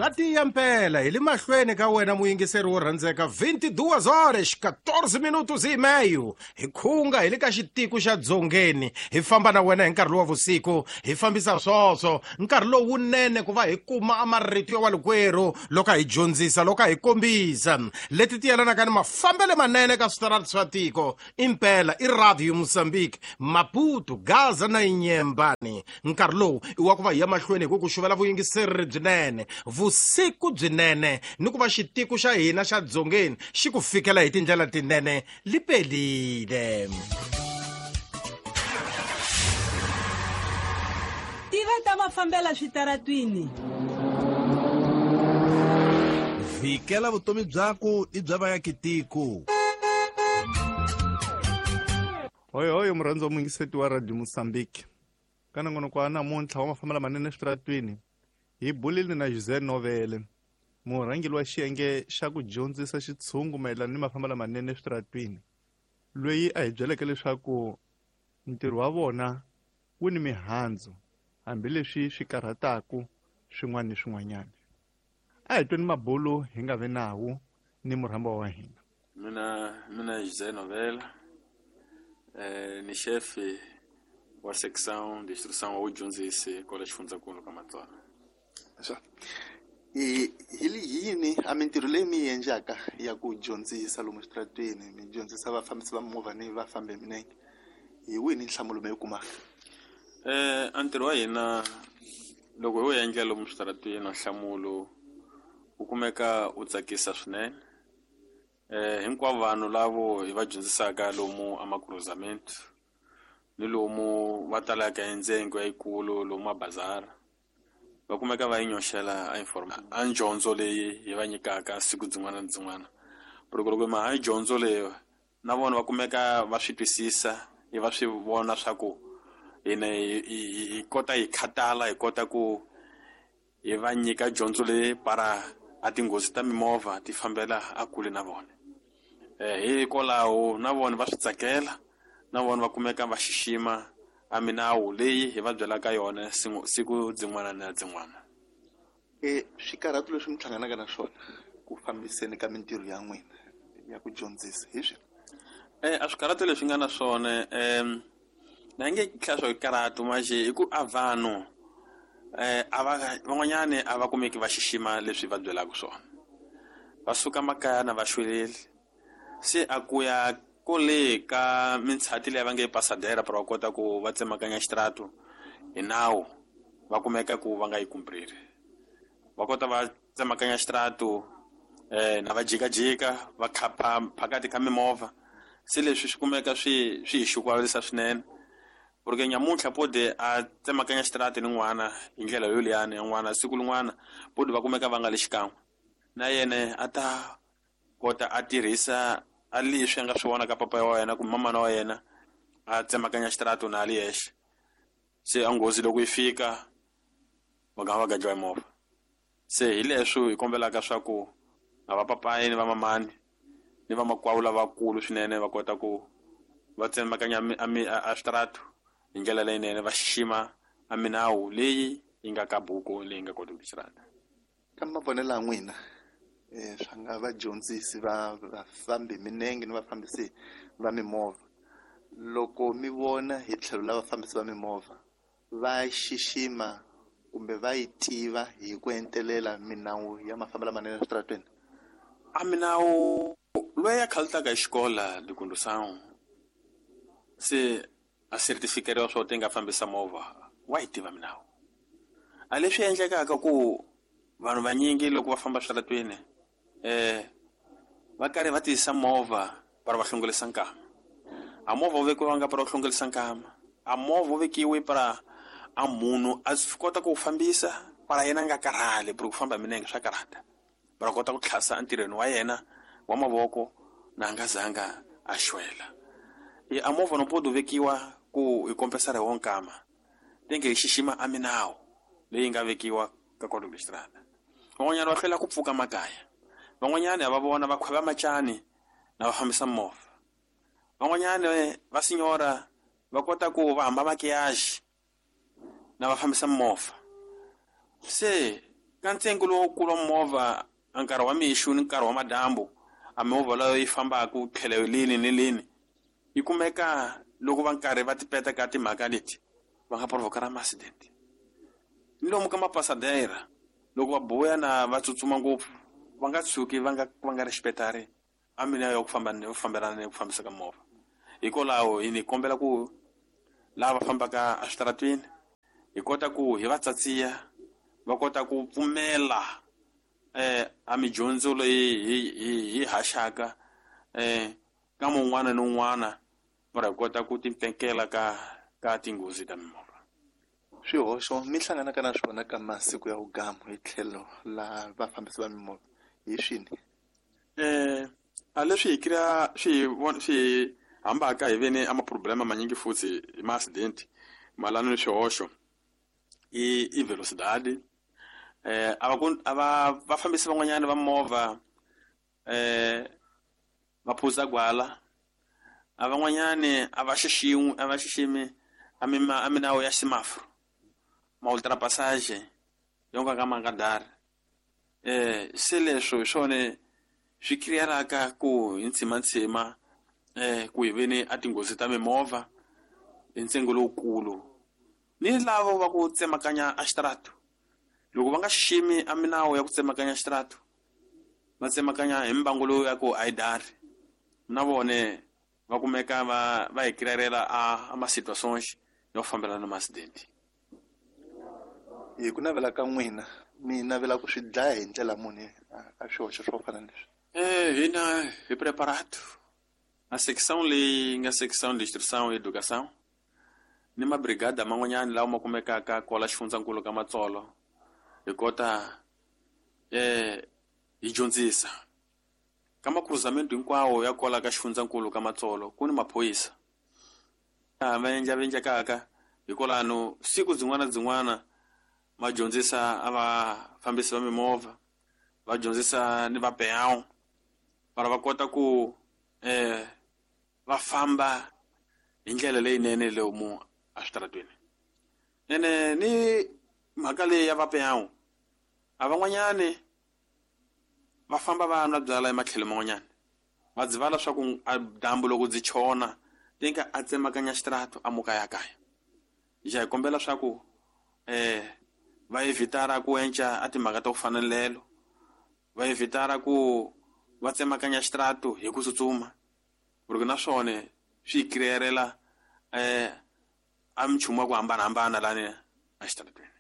Swa tiya mpela hi le mahlweni ka wena muyingiseri wo rhandzeka 22 horas 14 minutos e meio hi khunga hi le ka xitiko xa dzongeni hi famba na wena hi nkarhi lowa vusiku hi fambisa swoswo nkarhi lowunene ku va hi kuma a marito ya walikwerhu loko a hi dyondzisa loko a hi kombisa leti ti yelanaka ni mafambele manene ka switarati swa tiko impela i radio Mozambique Maputo Gaza na Inyembani nkarhi lowu i wa ku va hi ya mahlweni hi ku ku xuvela vuyingiseri byinene vusiku byinene ni ku va xitiko xa hina xa dzongeni xi ku fikela hi tindlela tinene lipelile. Tiva ta mafambela switaratwini. Vhikela vutomi byaku i bya vayakitiko. Hoyohoyo murhandzi wa muyingiseti wa Radio Mozambique. Ka nongonoko wa namuntlha wa mafambelo manene eswitaratwini hi bulile na Jose Novele, murhangeri wa xiyenge xa ku dyondzisa xitshungu mayelana ni mafambelo lamanene eswitaratwini, loyi a hi byeleke leswaku ntirho wa vona wu ni mihandzu hambileswi swi karhataka swin'wana ni swin'wanyana. A hi tweni mabulo hi nga vi nawu ni murhambiwa wa hina. Mina mina José Novela ni xefi wa section d'instruction wa vudyondzisi kwala xifundzankulu ka Matswana. Swa. I hi yini a mintirho leyi mi yi endlaka ya ku dyondzisa lomu switarateni mi dyondzisa vafambisi va mimovha ni vafambi hi milenge hi wihi ni nhlamulo mi yi kumaka? A ntirho wa hina loko hi wu endla lomu switarateni nhlamulo wu kumeka wu tsakisa swinene. Hinkwavo vanhu lavo hi va dyondzisaka lomu a makruzamento ni lomu va talaka hi ndzengo yikulu lomu mabazara va kumeka va yi nyoxela a a dyondzo leyi hi va nyikaka siku byin'wana na byin'wana. Loko loko ma ha dyondzo leyi na vona va kumeka va swi twisisa hi va swi vona swa ku hina hi kota hi khatala hi kota ku hi va nyika dyondzo leyi para a tinghozi ta mimovha ti fambela a kule na vona. Hikwalaho na vona va swi tsakela na vona va kumeka va xixima a minawu leyi hi va byelaka yona siku byin'wana na byin'wana. Swikarhato leswi mi hlanganaka na swona ku fambiseni ka mintirho ya n'wina ya ku dyondzisa hi swihi? A swikarhato leswi nga na swona na nge hlaya swa swikarato manjhe i ku a vanhu a va van'wanyani a va kumeki va xixima leswi va byelaka swona. Va suka makaya na va xweleli se a ku ya kole ka mintshati leyi va nge pasadera para va kota ku va tsemakanya xitaratu hi nawu va kumeka ku va nga yi kumpriri. Va kota va tsemakanya xitaratu na va jikajika va khapa phakati ka mimovha se leswi swi kumeka swi swi hi xukuvalisa swinene. Porque nyamuntlha pode a tsemakanya xitaratu ni n'wana hi ndlela yoliyani ya n'wana siku lin'wana pode va kumeka va nga le xikan'we na yena a ta kota a tirhisa a leswi a nga swi vona ka papa wa yena kumbe mamana wa yena a tsemakanya xitaratu na a li yexe. Se a nghozi loko yi fika va gama va gadliwa hi movha. Se hi leswi hi kombelaka swa ku a va papayi ni va mamani ni vamakwavo lavakulu swinene va kota ku va tsemakanya a switaratu hi ndlela leyinene va xixima a minawu leyi yi nga ka buku leyi nga koti ku xitarata. Ka mavonelo ya n'wina swa nga vadyondzisi va vafambi milenge ni vafambisi va mimovha loko mi vona hi tlhelo la vafambisi va mimovha va xixima kumbe va yi tiva hi ku entelela minawu ya mafambelo lamanene eswitarateni? A minawu loyi a khalutaka hi xikola likundusangu se a certificate swo ti nga fambisa movha wa yi tiva minawu. A leswi endlekaka ku vanhu vanyingi loko va famba switaratweni va karhi va tiyisa movha para va hlongolisa nkama. A movha wu vekiwanga para wu hlongolisa nkama, a movha wu vekiwe para a munhu a swi kota ku wu fambisa para yena a nga karhali ku famba hi milenge swa karhata. Para kota ku tlhasa entirhweni wa yena wa mavoko na a nga zanga a xwela. A movha no podi wu vekiwa ku hi kompesara hi wo nkama tenge hi xixima a minawu leyi nga vekiwa ka code of xitarata. Van'wanyana va hlwela ku pfuka makaya, van'wanyana va vona va khweva macani na va fambisa movha, van'wanyana va sinyora va kota ku va hamba makiyaji na va fambisa movha. Se Ka ntsengo lowukulu wa movha a nkarhi wa mixo ni nkarhi wa madyambu, a mimovha leyo yi fambaka tlhelo lini ni lini yi kumeka loko va nkarhi va tipeta ka timhaka leti va nga provokara ma-accident. Ni lomu ka mapasadera loko va buya na va tsutsuma ngopfu va nga tshuki va nga respectari a mina ya ku famba ni fambelana ni ku fambisa ka movha. Hikwalaho hi ni kombela ku lava fambaka eswitarateni hi kota ku hi va tsatsiya va kota ku pfumela a midyondzo leyi hi haxaka ka mun'wana ni un'wana va hi kota ku timpfekela ka tinghozi ta mimovha. Swihoxo mi hlanganaka na swona ka masiku ya vugamu hi tlhelo la vafambisi va mimovha hi swini? A leswi hi kria swi hambaka hi veni a maproblema manyingi futhi hi ma-accident malano ni swihoxo i velocidade. A vafambisi van'wanyana va movha va phuza gwala, a van'wanyani a va xiximi a minawu ya semaforo, ma ultrapassage yo ka ma nga dari. Se leswo hi swona swi crearaka ku hi ntshimantsima ku hi veni a tinghozi ta mimovha hi ntsengo lowukulu. Ni lavo va ku tsemakanya a xitarato, loko va nga xiximi a minawu ya ku tsemakanya xitarato, va tsemakanya hi mbangu lowu ya ku a yi dari, na vone va kumeka va hi crearela a ma-situations yo fambelana na ma-accident. Hi ku navela ka n'wina mi navela ku swi dlaya hi ndlela muni a swihoxo swo fana na leswi? Hina hi preparato a section leyi nga section de instrução e educação ni mabrigada man'wanyana lawa ma kumekaka kwala xifundzankulu ka Matsolo, hi kota hi dyondzisa ka makruzamento hinkwawo ya kwala ka xifundzankulu ka Matsolo. Ku ni maphorisa va endla hikwalano siku byin'wana byin'wana va dyondzisa a vafambisi va mimovha, va dyondzisa ni va peão para va kota ku va famba hi ndlela leyinene lomu eswitarateni. Ene ni mhaka leyi ya va peão, a van'wanyani va famba va nwa byala ematlhelo man'wanyana, va dzivala swa ku a dyambu loko byi chona tinka a tsemakanya xitarato a muka ya kaya. Ja hi kombela swa ku va evitara ku enca a timhaka ta ku fana lelo, va evitara ku va tsemakanya xitarato hi ku tsutsuma, porque na swona swi crearela a minchumu ya ku hambanahambana lani exitarateni.